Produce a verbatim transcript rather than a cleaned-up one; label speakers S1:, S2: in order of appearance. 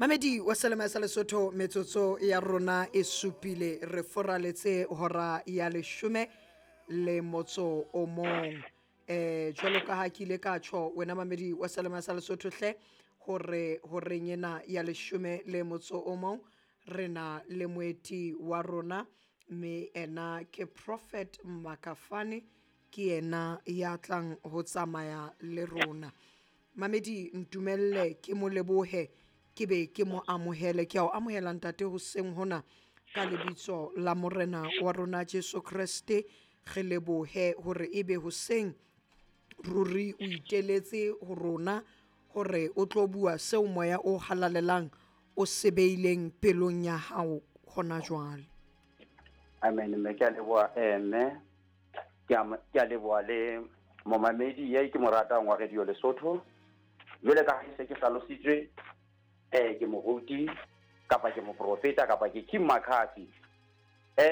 S1: Mamedi wa Selema sa Lesotho, metsotso ya rona e supile re foraletse hora ya leshome le motso o mong. Eh jwalo ka ha ke ile ka tjho wena mamedi wa Selema sa Lesotho hle, hore horeng ena ya leshome le motso o mong re na le moeti wa rona, mme ena ke Prophet Makafane, ke yena ya tlang ho tsamaya le rona. Mamedi, ntumelle ke mo lebohe, ke be ke mo amohele. Ke a o amohela ntate hoseng hona ka lebitso la Morena wa rona Jesu Kreste. Re lebohe hore ebe hoseng ruri o iteletse ho rona hore o tlo bua seo moya o halalelang o sebeileng pelong ya hao hona jwale.
S2: Amen. Mme ke a leboha, eh, mme ke a ke a leboha le momamedi ye ke mo ratang wa Radio Lesotho. Jwale ka ha se ke hlalositswe, eh ke moruti kapa ke moprofeta kapa ke King McCarthy.